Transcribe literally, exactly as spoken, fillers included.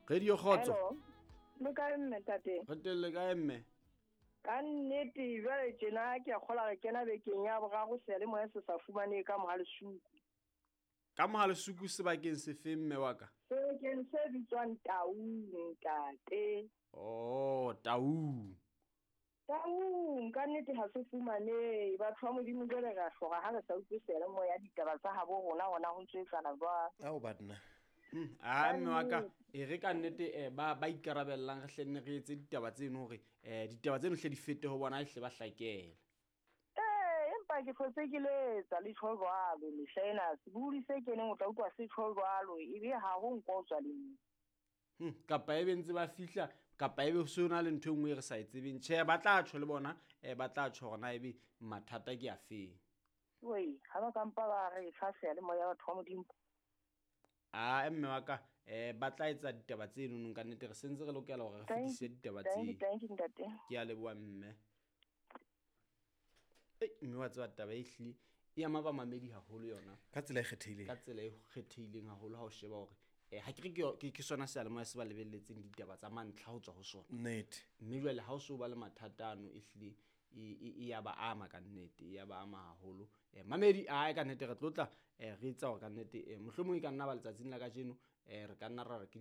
Radio Kgotso. Hello. Le kae mme tate? Re teng, le kae mme? Ka nnete jwale tjena ke a kgola re kena bekeng ya boraro seyalemoya se sa fumanehe ka Mohalesuku. Ka Mohalesuku sebakeng sefe mme wa ka? Sebakeng se bitswang Taung ntate. Oh, Taung. Taung ka nnete ha se fumanehe. Batho ba Modimo jwale re a hloka ha re sa utlwe seyalemoya ditaba tsa habo rona hona ho ntso etsahala jwang. Ao banna. Hmm, a mme wa ka e re ka nnete eh, ba ba ikarabellang re hle nne re etse ditaba tseno hore eh, ditaba tseno hle di fete ho bona hle ba hlakele. Ee, empa ke hlotse ke letsa le tjho jwalo mehla ena sebohodi se keneng o tla utlwa se tjho jwalo ebe ha ho nko tswa le moo. Hmm, kapa ebe ntse ba fihla kapa ebe ho se ho na le ntho e nngwe e re sa e tsebeng. Tjhe, ba tla tjho le bona eh, ba tla tjho hore na ebe mathata ke afeng. Wei, ha ba kampa ba re fa seyalemoya batho ba Modimo. A mme wa ka eh, ba tla etsa ditaba tseno nong ka nnete re sentse re lokela hore re Thank fetise ditaba thank you, tseo. thank you ntate. Ke a leboha mme. Ei, mme wa tseba taba e hlile e ama bamamedi haholo yona. Ka tsela e kgethehileng. Ka tsela e kgethehileng haholo ha o sheba hore eh, ha ke re ke yo- ke ke sona seyalemoya se ba lebelletseng ditaba tsa mantlha ho tswa ho sona. Nnete. Mme jwale ha o so ba le mathata ano e hlile e e e ya ba ama ka nnete, e ya ba ama haholo. Eh, mamedi ae ka nnete re tlo tla eh, re etsa hore ka nnete eh, mohlomong e ka nna ba letsatsing la kajeno eh, re ka nna ra re ke